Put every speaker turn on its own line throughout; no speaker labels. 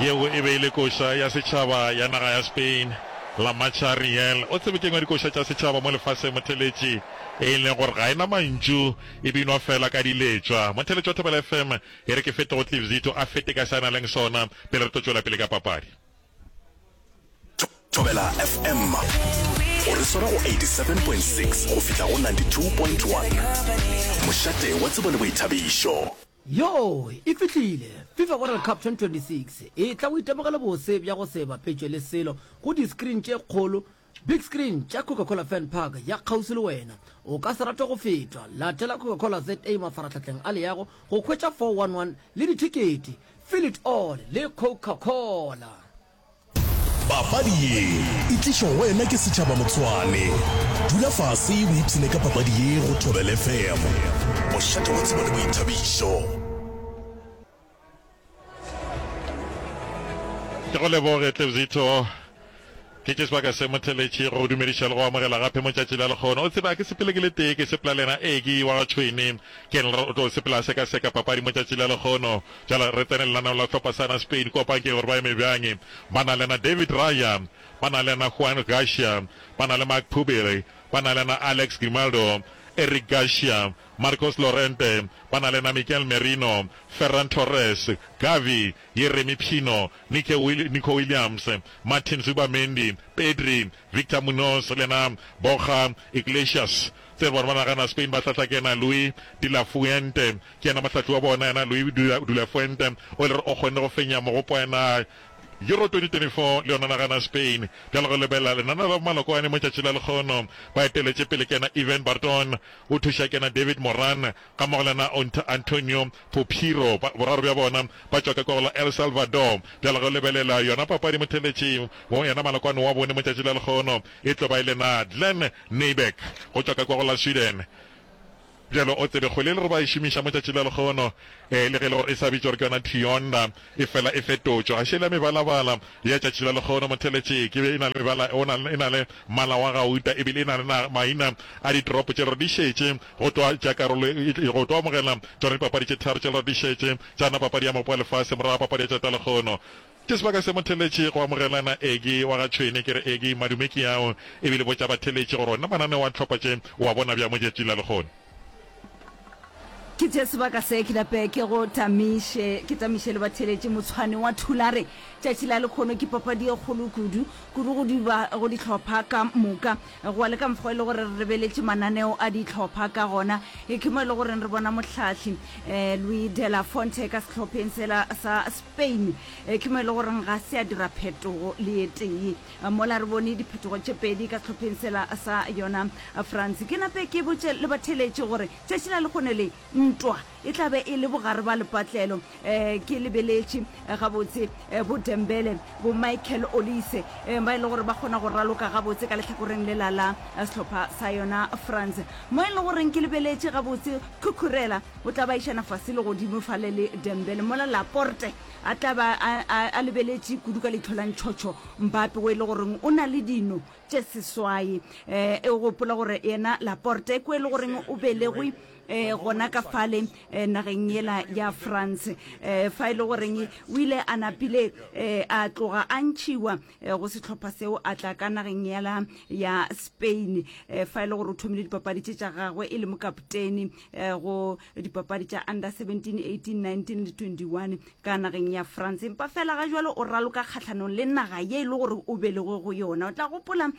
Yeo e be e le koša ya setšhaba ya naga ya Spain, La Marcha Real. O tsebe ke engwe ya dikoša tša setšhaba mo lefaseng, motheletši, e leng gore ga e na mantšu, e binwa fela ka diletšwa. Motheletši wa Thobela FM, e re ke fete go Cliff Zito, a fete ka se a naleng sona, pele re tlo tšwela pele ka papadi.
Thobela FM o re swara go 87.6 go fihla go 92.1. Mošate wa tsebo le boithabišo.
Yoo e fihlile! FIFA World Cup 2026 e tla o itemogele bose bja go se bapetšwe le selo go di-screen tše kgolo, big screen, tša Coca-Cola Fan Park ya kgauswi le wena. O ka se rate go fetwa! Latela Coca-Cola ZA mafarahlahleng a leago go hwetša 411 le dithekete. Feel it all le Coca-Cola!
Papadi ye e tlišwa go wena ke setšhaba Motshwane. Dula fase o ipshine ka papadi ye go Thobela FM, mošate wa tsebo le boithabišo.
Ke go leboge Tlebzito. Ke tše sebaka se motheletši go go dumediša le go amogela gape mo tšatši la lekgono. O tsebe a ke sepele ke le tee, ke sepela le yena Egi wa ga Tšhwene. Ke ena o tlo sepela a sekaseka papadi mo tšatši la lekgono. Bjale re tsene lenaneong la sehlopha sa na Spain kua pankeng gore ba eme bjang. Ba na le yena David Raya, ba na le yena Juan Garcia, ba na le Marc Pubill, ba na le yena Alex Grimaldo, Eric Garcia, Marcos Llorente, ba na le yena Mikel Merino, Ferran Torres, Gavi, Yeremy Pino, Nico Williams, Martin Zubimendi, Pedri, Victor Munoz le yena Borja Iglesias. Tse bona ba nagana Spain ba hlahla ke yena Luis de la Fuente. Ke yena mohlahli wa bona, yena Luis de la Fuente o e le gore o kgonne go fenya mogopo wa yena Euro 2024 le yona nagana Spain. Bjale go lebelela lenaneo la bomalokwane mo tšatši la lekgono, ba eteletše pele ke yena Ivan Barton, o thuša ke yena David Moran, Gammogo le yena Antonio Popiro, boraro bja bona ba tšwa ka kwa go la El Salvador. Bjale ge o lebelela yona papadi motheletši wo yena malokwane wa bone mo tšatši la lekgono e tlo ba e le na Glenn Nyberg go tšwa ka kwa go la Sweden. Bjale o tsebe kgwele e le gore ba e šomiša mo tšatši la lekgono e le ge e le gore e sa bitšwa gore ke yona Trionda e fela e fetotšwe. Ga šele ya mebalabala ya tšatši la lekgono motheletši ke be e na le mebala o na e na le mmala wa gauta ebile e na le na maina a ditoropo tše le gore di šetše Go tlo tšea karolo go tlo amogela tšona dipapadi tše tharo tše di šetše tša na papadi ya Mopo wa Lefase morago ga papadi ya tšatši la lekgono. Ke sebaka se motheletši go amogelana Egi wa ga Tšhwene. Ke re Egi, madume ke ao ebile botša batheletši gore ona mananeo a dihlopha tše o a bona bjang mo tšatšing la lekgono.
Ke tšee sebaka se ke nape ke go tamiše, ke tamiše le batheletši Motshwane wa Thulare. Tšatši la lekgono ke papadi ye kgolo kudu, kudu go di ba go dihlopha ka moka. Go ya le ka mokgwa e le gore re lebeletše mananeo a dihlopha ka gona, ke mo e le goreng re bona mohlahli Luis de la Fuente ka sehlopheng sela sa Spain, ke mo e le goreng ga se a dira phetogo le ye tee. Mola re bone diphetogo tše pedi ka sehlopheng sela sa yona France. Ke nape ke botše le batheeletši gore tšatši la lehono le ntwa e tla be e le bogare ba lepatlelo. Ke lebeletše gabotse bo Dembele, bo Michael Olise ba e le gore ba kgona go raloka gabotse ka lehlakoreng lela la sehlopha sa yona France. Mo e le goreng ke lebeletše gabotse Cucurella o tla ba išana fase le godimo fale le Dembele, mola Laporte a tla ba a lebeletše kudu ka leihlo la ntšhotšho Mbappe o e le goreng o na le dino tše seswai. E gopola gore yena Laporte ko e le goreng o belegwe gona ka fale nageng yela ya France, fa e le goreng o ile a napile a tloga a ntšhiwa go sehlopha seo a tla ka nageng yela ya Spain, fa e le gore o thomile dipapadi tše tša gagwe e le mokapteni go dipapadi tša under 17, 18, 19 le 21 ka nageng ya France. Empa fela ga jwalo o raloka kgahlanong le naga ye e le gore o belegwe go yona. O tla gopola um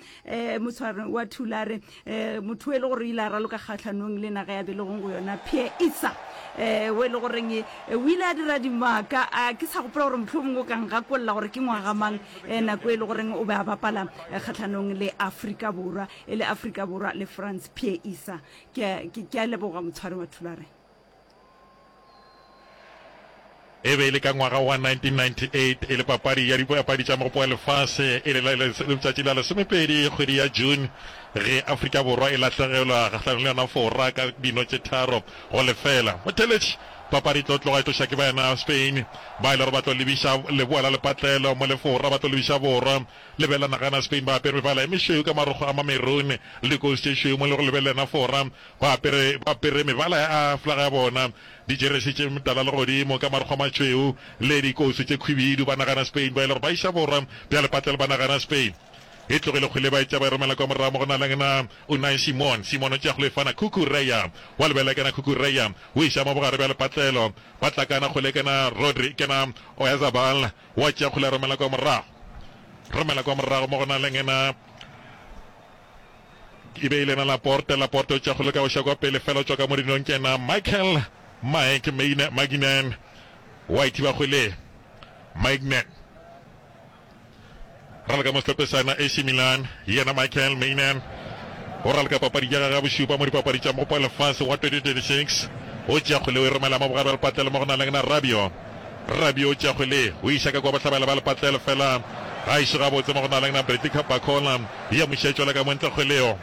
motshwari wa Thulare, um motho e le gore o ile a raloka kgahlanong le naga ya belegweng go yona, Pierre Issa, um o e le goreng o ile a dira dimaka. A ke sa gopola gore mohlomongwe o ka ngakolla gore ke ngwaga mang um nako e le goreng o be a bapala kgahlanong le Afrika Borwa, e le Afrika Borwa le France, Pierre Issa. Ke a leboga motshwari wa Thulare.
E be e le ka ngwaga wa 1998, e le papadi ya dipapadi tša Mogopo wa Lefase, e le letšatši la lesomepedi kgwedi ya June, ge Afrika Borwa e lahlegelwa kgahlanong le yona Fora ka dino tše 3-0. Motheeletši. Papadi e tlo tloga e tloša ke baena Spain ba e le gore ba tlo lebiša leboa la lepatlelo mo le Fora ba tlo lebiša borwa. Lebelela nagana Spain ba apere mebala e mešweu ka marokgo a mamerone le dikousu tše šweu mo le go lebelela Fora ba apere ba apere mebala ya flaga ya bona, dijeresi tše tala legodimo ka marokgo a matšhweu le dikousu tše khwibidu. Ba nagana Spain ba e le gore ba iša borwa bja lepatlelo ba nagana Spain. E tlogile kgwele ba e tšea ba e romela kwa morago mo go na le na Unai Simon. Simon o tšea kgwele e fana Cucurella. Wa lebelela kena Cucurella o iša mo bogare bja lepatlelo. Ba tlakana kgwele kena Rodri kena Oyarzabal wa tšea kgwele a romela kwa morago. Romela kwa morago mo go na le na e be e le na Laporte. Laporte o tšea kgwele ka go iša kwa pele fela o tšwa ka mo dinong kena Michael Mike Maignan wa ithiba kgwele Maignan. Raloka mo sehlopheng sa AC Milan, yena Michael Maignan o raloka papadi ya gagwe ya bošupa mo dipapadi tša Mogopo wa Lefase wa 2026. O tšea kgwele o e romela mo bogare bja lepatlelo mo go na leng na Rabiot. Rabiot o tšea kgwele o iša ka kua bohlabela bja lepatlelo fela ga iše gabotse mo go na leng na Bradley Barcola ya moša e tšwela ka mo ntle kgwele eo.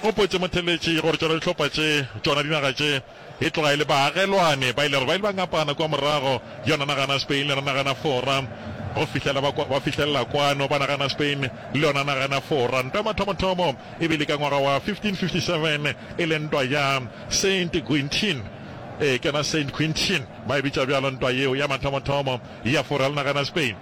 Gopotše motheletši gore tšona dihlopha tše, tšona dinaga tše, E tloga e le baagelwane ba ile gore ba ile ba ngapana kua morago, yona nagana Spain le yona nagana Fora, go fihlela ba, ba fihlelela kwano, ba nagana Spain le yona nagana Fora. Ntwa ya mathomothomo e bile ka ngwaga wa 1557, e le ntwa ya Saint Quentin. Ee, ke yona Saint Quentin, ba e bitša bjalo ntwa yeo ya mathomothomo ya Fora le nagana Spain.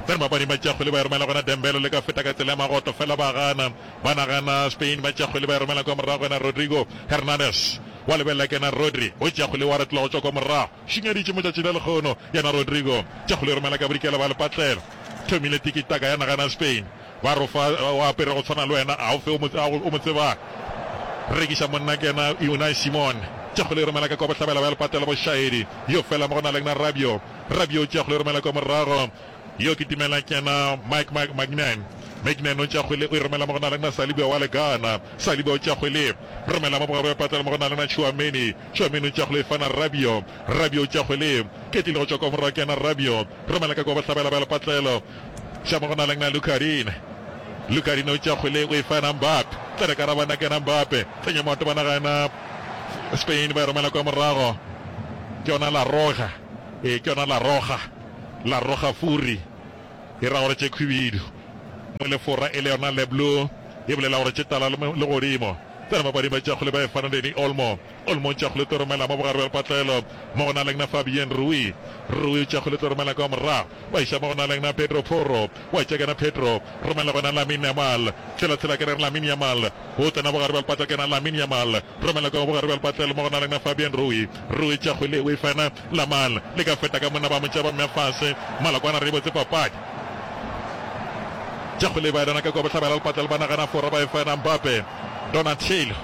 Tsena mapapading ba tšea kgwele ba e romela gona Dembele le ka feta ka tsela ya magoto fela ba gana. Ba nagana Spain ba tšea kgwele ba e romela kwa morago yena Rodrigo Hernandez wa lebelela kena Rodri o tšea kgwele wa retola go tšwa kwa morago šinyaditše motšatši la lekgono yena Rodrigo tšea kgwele e romela ka bodikela ba lepatlelo thomile tiki taka ya nagana Spain ba rofa o apere go tshwana le wena a o fe o mo tsebang rekiša monna kena Unai Simon tšea kgwele e romela ka kwa bohlabela bja lepatlelo bošaedi yo fela mo go na leng na Rabiot Rabiot tšea kgwele e romela kwa morago Yo kitimela ke yena Mike Mike Magnan. Magnan o tšea kgwele o e romela mo go na le na Saliba wa le Ghana. Saliba o tšea kgwele romela mo bogare bja patlelo mo go na le na Tchouameni. Tchouameni o tšea kgwele e fana Rabiot. Rabiot o tšea kgwele ketlile go tšwa kwa morago ke yena Rabiot. Romela ka kwa bohlabela bja lepatlelo. Tša mo go na le na Lucadine. Lucadine o tšea kgwele o e fana Mbappe. Tsena ka rabana ke yena Mbappe. Tsenya maoto ba nagana Spain ba e romela kwa morago. Ke yona La Roja. Ee ke yona La Roja. La roga furi, e ra gore tše khwibidu. Mo le Fora e le yona Le Bleu, e bolela gore tše tala le godimo. Tsena papading ba tšea kgole ba e fana Dani Olmo. Olmo o tšea kgole tlo romela mo bogare bja lepatlelo mo go na leng na Fabien Rui. Rui o tšea kgole tlo romela kwa morago ba iša mo go na leng na Pedro Porro. Wa tšea kena Pedro, romela gona Lamine Yamal. Tshela tshela kena re Lamine Yamal. O tsena bogare bja lepatlelo kena Lamine Yamal. Romela kwa bogare bja lepatlelo mo go na leng na Fabian Rui. Rui tšea kgwele o e fana Lamal. Le ka feta ka monna ba mo tšea ba mmea fase. Malokwana re e botse papadi. Tšea kgwele ba e lona ka kwa bohlabela lepatlelo ba nagana Fora ba e fana Mbappe. Donatello.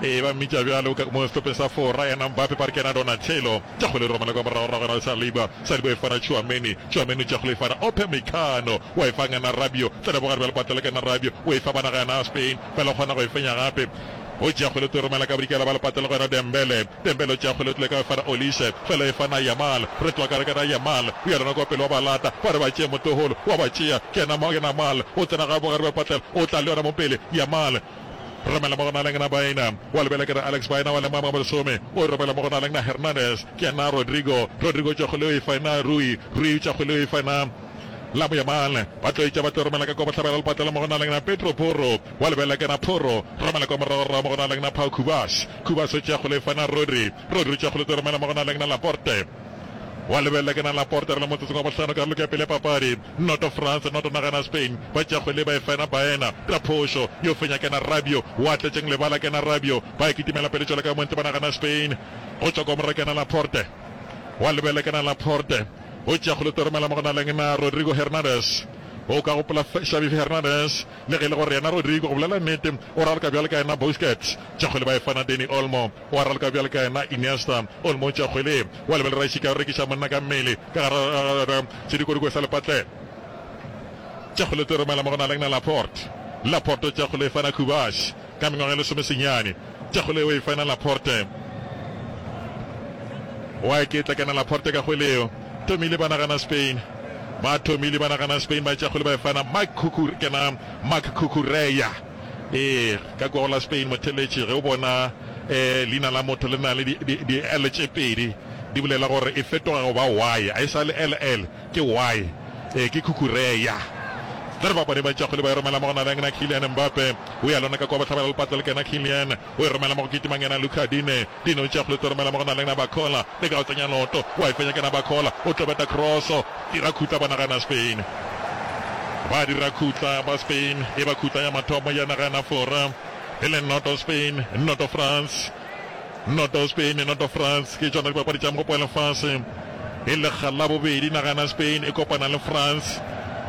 Ee ba mmitša bjalo mo sehlopheng sa Fora yena Mbappe ba re ke yena Donatello. Tšea kgwele romela kwa moragorago yena Saliba. Saliba e fana Tchouameni. Tchouameni o tšea kgwele e fana Upamecano. Wa e fa ngana Rabiot. Tsena bogare bja lepatlelo ke yena Rabiot. O e fa ba naga yena Spain. Fela o kgona go e fenya gape. O tšea kgwele o tlo e romela ka bodikela ba lepatlelo go yena Dembele. Dembele o tšea kgwele o tlile ka e fana Olise. Fela e fana Yamal. Re tloga ka re kena Yamal. O ya lona kwa pele wa ba lata. Ba re ba tšee motogolo. Wa ba tšea. Ke yena Yamal. O tsena ga bogare bja lepatlelo. O tla le yona mo pele. Yamal. Romela mo go naleng na Baena. Wa lebela ke re Alex Baena wa lema bolesome. O romela mo go naleng na Hernandez. Ke yena Rodrigo. Rodrigo o tšea kgwele o e fa yena Rui. Rui o tšea kgwele o e fa yena Lamo Yamal. Ba tlo etša ba tlo romela ka kwa bohlabela lepatlelo mo go naleng na Pedro Porro. Wa lebela ke na Porro. Romela kwa moragorago mo go naleng na Pau Cubas. Cubas o tšea kgwele e fa na Rodri. Rodri o tšea kgwele o tlo romela mo go naleng na Laporte. Wa lebelela ke na Laporte re le motsotsong wa bohlano karolo ya pele ya papadi. Noto France, noto nagana Spain. Ba tšea kgwele ba e fena Baena. Ka phošo, yo fenya kena Rabiot. Wa tletšeng lebala kena Rabiot. Ba e kitimela pele tšwela ka montle ba nagana Spain. Go tšwa kwa morago kena Laporte. Wa lebelela kena Laporte. O tšea kgwele to romela mo go naleng na Rodrigo Hernandez. O ka gopola Xavi Hernandez le ge e le gore yena Rodrigo go bolela nnete o raloka bjalo ka yena Busquets. Tšea kgwele ba e fana Dani Olmo. O a raloka bjalo ka yena Iniesta. Olmo o tšea kgwele, wa lebelela Raishika o rekiša monna ka mmele ka gara sedikodiko sa lepatlelo. Tšea kgwele tlo romela mo go naleng na Laporte. Laporte o tšea kgwele e fana Kubash ka mengwaga e lesomesenyane. Tšea kgwele o e fana Laporte. Wa eketla kena Laporte ka kgwele eo. Thomile ba nagana Spain. Ba thomile ba nagana Spain ba tšea kgwele ba e fana Marc Cucur kena Marc Cucurella. Ee, ka kua go la Spain motheletši ge o bona. eh, leina la motho le na le di, di, di L tše pedi, di bolela gore e fetoga go ba Y, a e sa le LL, ke Y. Eh, ke Cucurella. Tla re bapadi ba tšago le ba e romela mo go na le yena Kylian Mbappe. O ya lona ka kwa bohlabela lepatla le kena Kylian. O e romela mo go kitimang yena Luca Dine. Dine o tšea kgole tlo romela mo go na le yena Barcola. Le ka go tsenya leoto. Wa e fenya kena Barcola. O tlo beta cross. Dira khutla ba nagana Spain. Ba dira khutla ba Spain. E ba khutla ya mathomo ya nagana Fora. E le noto Spain, noto France. Noto Spain, noto France. Ke tšona dipapadi tša mogopo wa lefase. E lekga la bobedi nagana Spain e kopana le France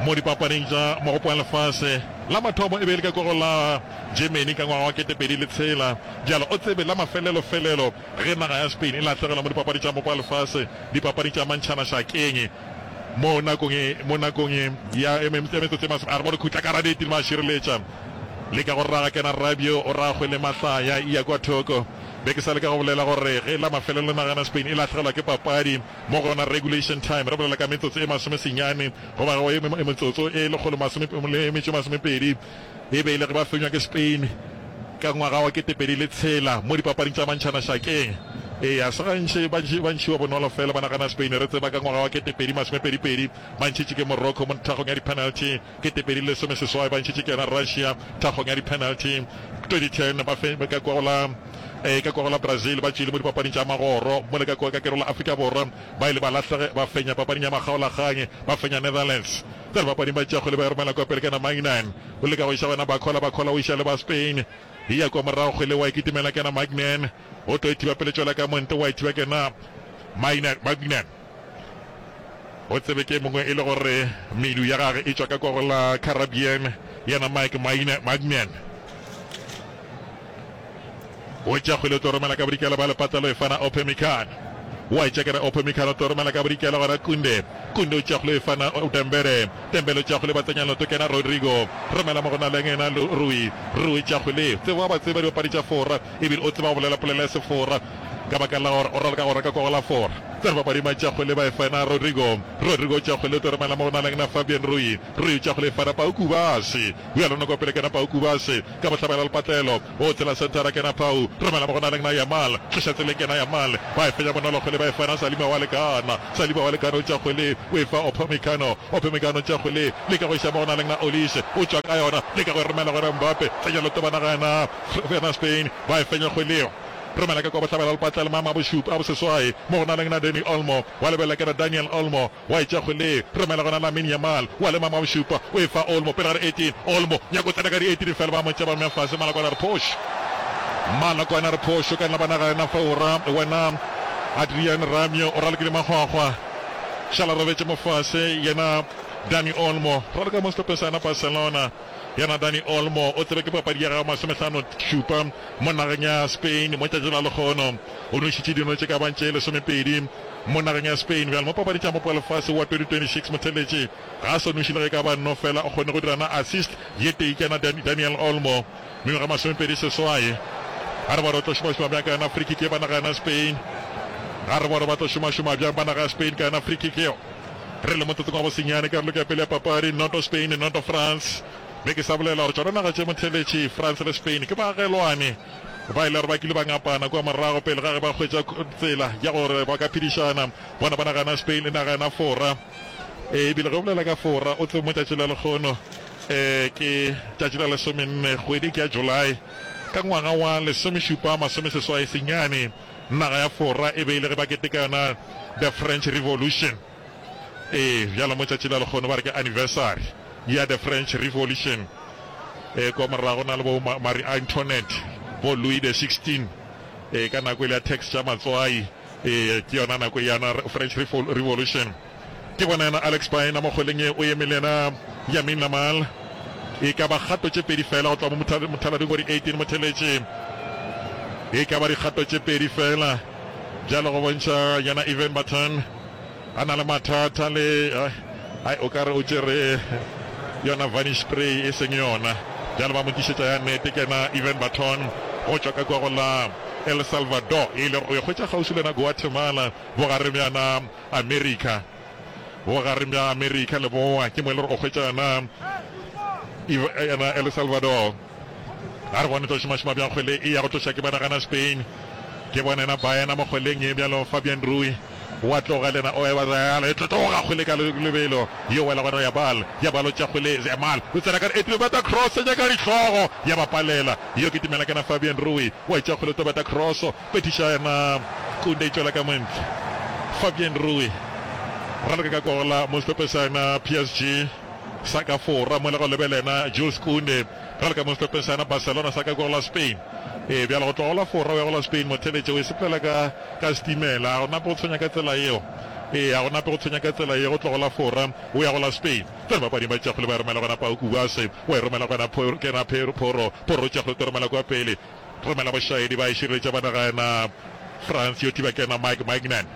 mo dipapading tša mogopo wa lefase. La mathomo e be e le ka kwa go la Germany ka ngwaga wa 2006. Bjalo o tsebe la mafelelofelelo ge naga ya Spain e lahlegelwa mo dipapadi tša mogopo wa lefase dipapading tša mantšhanašakeng mo nakong e mo nakong e ya e metsotso e masome a re bone khutla ka radeti le mašireletša leka go raga kena Rabiot o raga kgwele mahlaya e ya kwa thoko. Be ke sa leka go bolela gore ge la mafelelo nagana Spain e lahlegelwa ke papadi mo go yona regulation time re bolela ka metsotso e masomesenyane goba e metsotso e lekgolo masome le metšo e masomepedi e be e le ge ba fenywa ke Spain ka ngwaga wa 2006 mo dipapading tša mantšhanašakeng. Ee, ga se gantši ba ba ntšhiwa bonolo fela ba nagana Spain. Re tseba ka ngwaga wa 2022 ba ntšhitše ke Morocco mo nthagong ya di-penalty, 2018 ba ntšhitše ke yona Russia thagong ya di-penalty, 2010 ba fe ka kwa go la ee ka kwa go la Brazil ba tšwile mo dipapading tša magoro, mola ka kwa ka kero la Afrika Borwa ba ile ba lahlege ba fenya papading ya makgaolakgang ba fenya Netherlands. Tsa dipapading ba tšea kgwele ba e romela kwa pele ka na Magnan o leka go iša wena Barcola, Barcola o iša le ba Spain e ya kwa morago kgwele wa e kitimela ke na Magnan o tlo e thiba pele tšwela ka monte wa e thiba ke na Magnan, Magnan o tsebe ke mongwe e le gore medu ya gage e tšwa ka kwa go la Caribbean yena Mike Magnan, Magnan O tšea kgwele o tlo romela ka bodikela ba lepatlelo e fana Upamecano. Wa e tšea kere Upamecano o tlo romela ka bodikela gona Kounde. Kounde o tšea kgwele e fana Dembele. Dembele o tšea kgwele ba tsenya leoto kena Rodrigo. Romela mo go na le yena Rui. Rui tšea kgwele. Tsebo wa ba tseba dibapadi tša Fora ebile o tseba go bolela polelo ya Sefora ka baka la gore o raloka gore ka kwa go la Fora. Tseba dibapadi ba tšea kgwele ba e fana Rodrigo. Rodrigo o tšea kgwele o tlo romela mo go na le yena Fabian Rui. Rui o tšea kgwele e fana Pau Kubasi. O ya lona kwa pele kena Pau Kubasi. Ka bohlabela lepatlelo, o tsela senthara kena Pau, romela mo go naleng na Yamal, tloša tseleng kena Yamal, ba e fenya bonolo kgwele ba e fana Saliba wa lekana, Saliba wa lekana o tšea kgwele o e fa Upamecano, Upamecano o tšea kgwele leka go iša mo go naleng na Olise, o tšwa ka yona leka go e romela go Mbappe, tsenya leoto ba naga yena Spain, ba e fenya kgwele romela ka kwa bohlabela lepatlelo mama bošupa a boseswai mo go naleng na Dani Olmo, wa lebelela kena Daniel Olmo, Wa etša kgwele, romela gona Lamine Yamal, wa lema maošupa, o e fa Olmo pele ga di 18, Olmo nyako tsena ka di 18 fela ba mo tšea ba mmea fase, Malakwane a re phošo, Malakwane a re phošo ka nna ba nagana fa o ra wena Adrian Ramio o ralokile makgwakgwa, šala robetše mo fase yena Dani Olmo raloka mo sehlopheng sa yena Barcelona, yena Dani Olmo o tsebe ke papadi ya gagwe masomehlano šupa mo nageng ya Spain mo tšatši la lekgono o nwešitše dino tše ka bang tše lesomepedi. Mo nageng ya Spain bjale mo papading tša Mopo wa Lefase wa 2026 motheletši ga a sa noši le ge e ka ba nno fela o kgonne go dira na assist ye tee ke yena Daniel Olmo mengwaga 28. Ga re bone o tlo šomašoma bjang ka yona free kick ye ba naga yona Spain. Ga re bone ba tlo šomašoma bjang ba naga ya Spain ka yona free kick yeo. Re le motsotsong wa bosenyane karolo ke ya pele ya papadi noto Spain noto France. Be ke sa bolela gore tšona naga tše motheletši France le Spain ke baagelwane. Ba ile gore ba kile ba ngapana kua morago pele ga ge ba hwetša tsela ya gore ba ka phedišana. Bona ba nagana Spain e nagana Fora. E bile ge o bolela ka Fora, o tsebe mo tšatši la lekgono e ke tšatši la lesomenne kgwedi ke ya July ka ngwaga wa lesomešupa masomeseswai senyane, naga ya Fora e be e le ge ba keteka yona The French Revolution. Ee, bjalo mo tšatši la lekgono ba re ke anniversary ya the French Revolution. Ee, kwa morago na le bo Marie Antoinette, bo Louis the 16. Ee, ka nako e le ya tax tša matswai. Ee, ke yona nako ya yona French Revolution. Ke bona yena Alex Baena mo kgweleng ye o eme le yena Lamine Yamal. E ka ba kgato tše pedi fela go tloga mo mothalading wa di 18 motheletše. E ka ba dikgato tše pedi fela. Bjalo go bontšha yena Ivan Baton. A na le mathata le ai o ka re o tšere yona varnish spray e seng yona. Bjale ba mo tlišetša ya nnete ke yena Ivan Baton go tšwa ka kua go la El Salvador e le gore o e hwetša kgauswi le yona Guatemala bogareng bja yona America. Bogareng bja America leboa ke mo e le gore o hwetša yona yona El Salvador. A re bone tlo šomašoma bjang kgwele e ya go tloša ke banagana Spain. Ke bona yena Baena mo kgweleng ye bjalo Fabian Rui wa tloga le yena o eba Real e tlo tloga kgwele ka lebelo yo wela gona ya bal ya balo tša kgwele Yamal o tsena ka e tlo beta cross ya ka dihlogo ya ba palela yo kitimela ke na Fabian Rui wa tša kgwele tlo beta cross petiša yena Kunde e tšwela ka montle Fabian Rui raloka ka kola mo sehlopheng sa yena PSG sa ka Fora mola go lebelena Jules Kounde Bjalo ka mo sehlopheng sa yona Barcelona sa ka kwa go la Spain. Ee, bjalo go tloga go la Fora o ya go la Spain, motheeletši o e sepelela ka, ka setimela. A go nape go tshwenya ka tsela yeo. Ee, a go nape go tshwenya ka tsela ye, go tloga go la Fora o ya go la Spain. Tsena bapading ba tšea kgwele ba e romela gona Pau Kubase, wa e romela gona Phoro, kena Phero, Phoro, Phoro o tšea kgwele o tlo romela kua pele. Romela bošaedi ba e šireletša ba naga yena France yo thiba kena Mike Maignan.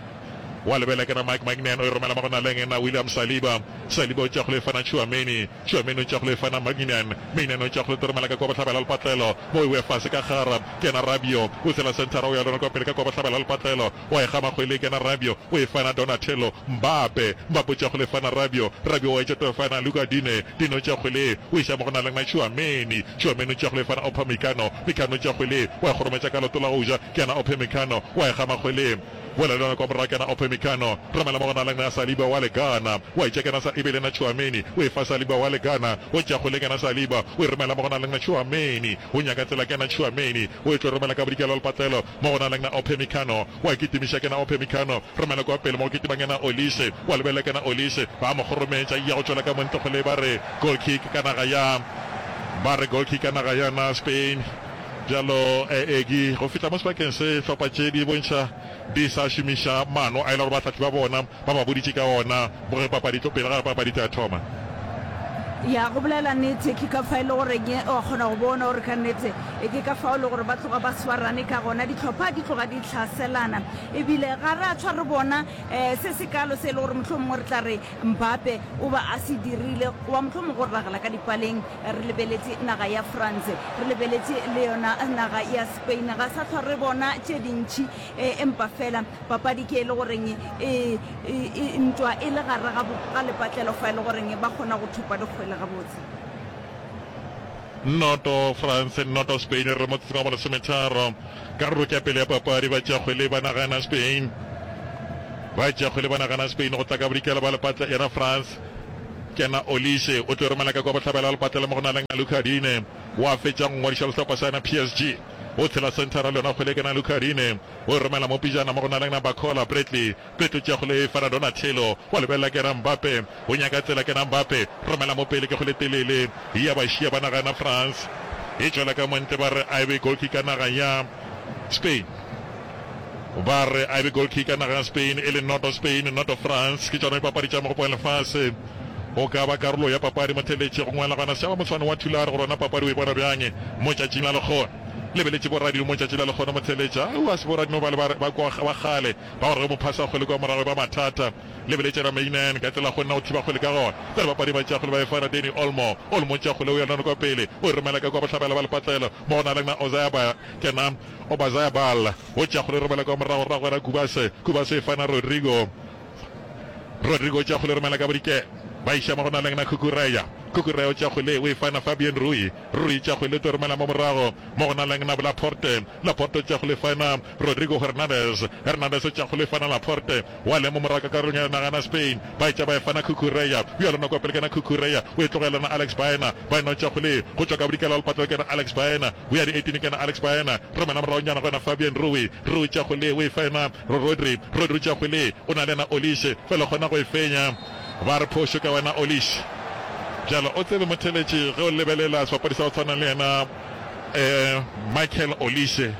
Wa lebela kena Mike Maignan o e romela mo go naleng ena William Saliba. Saliba o tšea kgwele e fana Tchouameni. Tchouameni o tšea kgwele e fana Maignan. Maignan o tšea kgwele o romela ka kua bohlabela lepatlelo. Mo e boya fase ka gara kena Rabiot o tshela senthara o ya lona kua pele ka kua bohlabela lepatlelo. Wa e gama kgwele kena Rabiot o e fana Donatello Mbappe. Mbappe o tšea kgwele e fana Rabiot. Rabiot wa e tšea o fana Luca Digne. Digne o tšea kgwele o iša mo go naleng na Tchouameni. Tchouameni o tšea kgwele e fana Upamecano. Mecano o tšea kgwele wa e kgorometša ka leoto la go ja kena Upamecano wa e gama kgwele. Boela le yona kwa morago kena Upamecano. Romela mo go naleng na Saliba wa le Ghana. Wa e tšea kena sa e be le na Tchouameni o e fa Saliba wa le Ghana. O tšea kgwele kena Saliba o e romela mo go naleng na Tchouameni. O nyaka tsela kena Tchouameni o e tlo romela ka bodikela lepatlelo. Mo go naleng na Upamecano, wa kitimiša kena Upamecano, romela kua pele mo go kitimang yena Olise, wa lebelela kena Olise, ba mo kgorometša, ya go tšwela ka mo ntle kgole ba re goal kick ka naga ya, ba re goal kick ka naga ya na Spain. Bjalo Egi, go fihla mo sebakeng se, hlopha tše di bontšha di sa šomiša maano a e le gore bahlahli ba bona ba ba boditše ka ona mo ge papadi tlo pele ga papadi tla thoma.
Ya, go bolela nnete, ke ka fa e le goreng wa kgona go bona gore ka nnete ke ka fao e le gore ba tloga ba swarane ka gona, dihlopha di tloga di hlaselana. Ebile ga re a tshwa re bona um se sekalo se e le gore mohlomongwe re tla re Mbappe o ba a se dirile, goba mohlomongwe go ragela ka dipaleng re lebeletše naga ya France, re lebeletše le yona naga ya Spain. Ga sa hlwa re bona tše dintši, empa fela Papadi ke e le goreng e, e, e, ntwa e le gare ga, ga lepatlelo fa e le goreng ba kgona go thopa dikgwele gabotse.
Noto France, noto Spain, re motsotsong wa bolesometharo. Karolo ke ya pele ya papadi, ba tšea kgwele ba nagana Spain. Ba tšea kgwele ba nagana Spain go tla ka bodikela ba lepatla yena France. Kena Olise o tlo romela ka kwa bohlabela lepatlelo mo go na leng Luca Digne wa fetša go ngwadiša le sehlopha sa yena PSG. O tshela senthara le yona kgwele kena Luca Digne. O e romela mo pejana mo go naleng na Barcola, Bradley, Bradley o tšea kgwele e fana Donatello, wa lebelela kena Mbappe, o nyaka tsela kena Mbappe, romela mo pele ke kgwele telele ya ba šia ba naga na France e tšwela ka montle ba re a e be goal kick ka naga ya Spain ba re a e be goal kick ka naga ya Spain e le noto Spain noto France ke tšona dipapadi tša mogopo wa lefase o ka ba karolo ya papadi motheletši go ngwala gona sešaba motshwane wa Thulare gore ona papadi o e bona bjang mo tšatšing la lekgono Lebeletše boradino mo tšatši la lekgono motheletša. Aowa, se boradino bale ba, ba kwa, ba kgale, ba gore ge mophasa kgwele kua morago e ba mathata. Lebeletše Ramainen ka tsela kgonna go thiba kgwele ka gona. Bjale bapadi ba tšea kgwele ba e fa Dani Olmo. Olmo o tšea kgwele o ya nano kwa pele. O e romela ka kua bohlabela ba lepatlelo. Mo go na le na Ozaya ba, kena Obazaya Bal. O tšea kgwele o e romela kua morago, rago yena Kubase. Kubase e fa na Rodrigo. Rodrigo o tšea kgwele o romela ka bodikela. Ba iša mo go na leng na Cucurella. Cucurella o tšea kgwele o e fa na Fabian Rui. Rui tšea kgwele o tlo romela mo morago mo go na leng na Laporte. Laporte o tšea kgwele e fa na Rodrigo Hernandez. Hernandez o tšea kgwele e fa na Laporte. Wa le mo morago ka karolong ya naga na Spain. Ba e tšea ba e fa na Cucurella. Bjalo nako ya pele ke na Cucurella o e tlogela na Alex Baena. Baena o tšea kgwele go tšwa ka bodikela wa lepatlelo ke na Alex Baena. O ya di 18 ke na Alex Baena. Romela morago nyana go yena Fabian Rui. Rui tšea kgwele o e fa yena Rodri. Rodri o tšea kgwele o na le yena Olise. Fela o kgona go e fenya. Ba re phošo ka wena Olise. Bjalo o tsebe motheletši ge o lebelela sebapadi sa go tshwana le yena um Michael Olise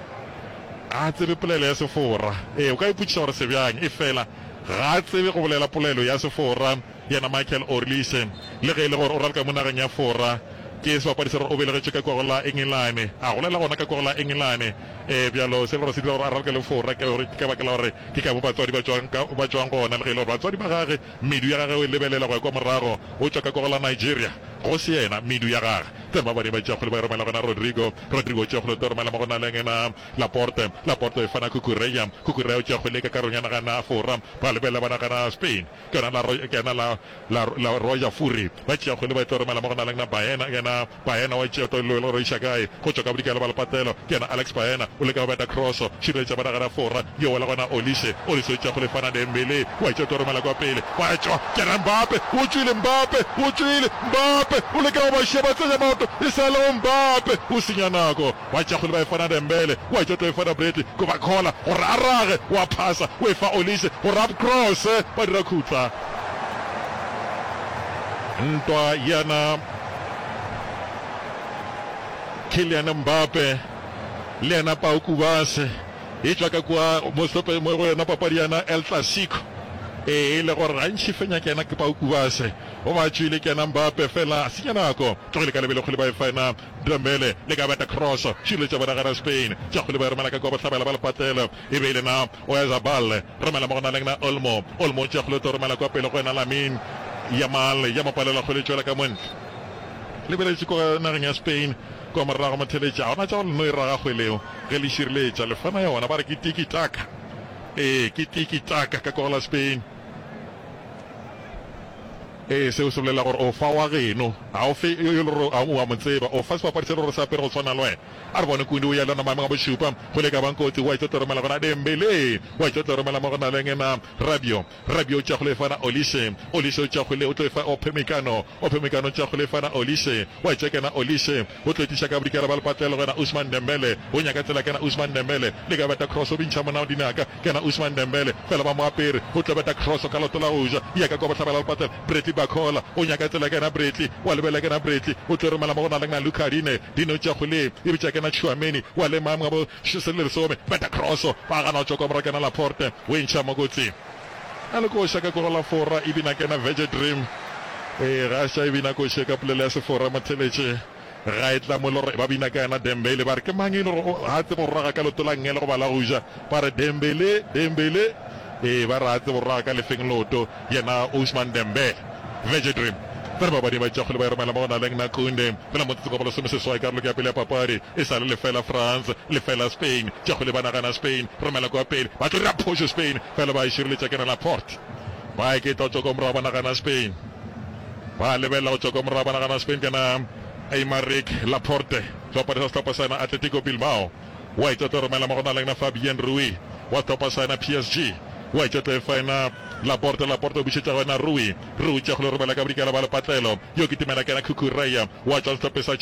ga a tsebe polelo ya Sefora. Ee, o ka ipotšiša gore se bjang, efela ga a tsebe go bolela polelo ya Sefora yena Michael Olise. Le ge e le gore o raloka mo nageng ya Fora, ke sebapadi sa gore o belegetšwe ka kua go la Engelane, a golela gona ka kua go la Engelane. Ee, bjalo se le gore se dira gore a raloke le Fora ke gore ke ka baka la gore ke ka mo batswadi ba tšwang ka ba tšwang gona, le ge e le gore batswadi ba gage medu ya gagwe o e lebelela go ya kwa morago, o tšwa ka kwa go la Nigeria. Go se yena, medu ya gage. Tsena ba bane ba tšea kgwele ba e romela gona Rodrigo. Rodrigo o tšea kgwele o tlo romela mo go naleng ena Laporte. Laporte o e fana Cucurella. Cucurella o tšea kgwele ka karolong ya nagana Fora. Ba lebelela ba nagana Spain. Ke yona la ke yena la la la Roger Fourie. Ba tšea kgwele ba e tlo romela mo go naleng na Baena. Yena Baena wa tšea tlo le go iša kae? Go tšwa ka bodikela ba lepatelo. Ke yena Alex Baena o leka go beta cross. Šireletša ba nagana Fora. Yo wela gona Olise. Olise o tšea kgwele fana Dembele. Wa tšea tlo romela kwa pele. Wa tšwa. Ke yena Mbappe. O tšwile Mbappe. O tšwile. Mbappe o leka go ba šia ba tsenya maoto. E sa le go Mbappe. O senya nako. Wa tšea kgwele ba e fana Dembele. Wa tšea tlo e fana Bradley. Ko ba khola gore a rage. Wa phasa. O e fa Olise gore a cross. Ba dira khutla. Ntwa yana Kylian Mbappe le yena Pau Kubase e tšwa ka kua mo sehlopheng mo go yona papadi yana El Clasico. Ee, e le gore gantši fenya ke yena ke Pau Kubase o ba tšwile ke yena Mbappe fela a senya nako. Tlogile ka lebelo kgwele ba e fa yena Dembele le ka beta cross šireletša bona gana Spain. Tša kgwele ba e romela ka kua bohlabela ba lepatlelo e be e le na Oyarzabal Romela mo go na leng na Olmo. Olmo o tšea kgwele o tlo romela kwa pele go yena Lamine Yamal. Ya mo palela kgwele e tšwela ka montle. Lebeletše kwa nageng ya Spain kwa morago motheletši. Ga gona tša go le no e raga kgwele eo ge le šireletša. Le fana yona ba re ke tiki taka. Ee, ke tiki taka ka kwa go la Spain. Ee, seo se bolela gore o fa wa geno. Ga o fe yo e le gore o a mo tseba. O fa sebapadi se e le gore se apere go tshwana le wena. A re bone Kundi o ya le yona maemong a bošupa. Go le ka bang kotsi, wa tlo romela gona Dembele. Wa tlo romela mo go na leng na Rabiot. Rabiot o tšea go le fa na Olise. Olise o tšea go le o tlo e fa Upamecano. Upamecano o tšea go le fa na Olise. Wa tšea kena Olise. O tlo etiša ka bodikela ba lepatlelo go yena Ousmane Dembele. O nyaka tsela kena Ousmane Dembele. Le ka beta cross o bintšha monna dinaka. Kena Ousmane Dembele. Fela ba mo apere. O tlo beta cross ka leoto la go ja. Ya ka kwa bohlabela lepatlelo. Bradley Barcola. O nyaka tsela kena Bradley. Wa lebelela kena Bradley. O tlo romela mo go na leng na Luca Digne. Dino tša kgwele e bitša kena Tchouameni wa le maemo a bo lesome beta cross ba gana go tšwa kwa morago kena Laporte o e ntšha mo kotsing a le koša ka kwa go la Fora e bina kena Vege Dream ee ga ša e bina koše ka polelo ya Sefora motheletše ga e tla mo le gore ba bina ka yena Dembele ba re ke mang e le gore ga tsebe go raga ka leoto la nngele goba la go ja ba re Dembele Dembele ee ba re ga tsebe go raga ka lefeng leoto Yena Ousmane Dembele, Vege Dream, ba re babadi ba tšea kgwele ba e romela mo go naleng na Kounde. Fela motsotso ka bolesomeseswai karolo ke ya pele ya papadi e sa le lefela France, lefela Spain. Tšea kgwele ba nagana Spain, romela kua pele, ba tlo dira phošo Spain, fela ba e šireletša ke na Laporte. Ba eketla go tšwa kwa morago ba nagana Spain. Ba lebelela go tšwa kwa morago ba nagana Spain ke na Aymeric Laporte, sebapadi sa sehlopha sa yena Atletico Bilbao. Wa etša tlo romela mo go naleng na Fabien Rui wa sehlopha sa yena PSG. Wa etša tlo e fa yena Laporte, Laporte o bušetša go yena Rui, Rui tša go le romela ka bodikela ba lepatlelo. Yo kitimela ke yena Cucurella wa tšwa sehlopheng sa.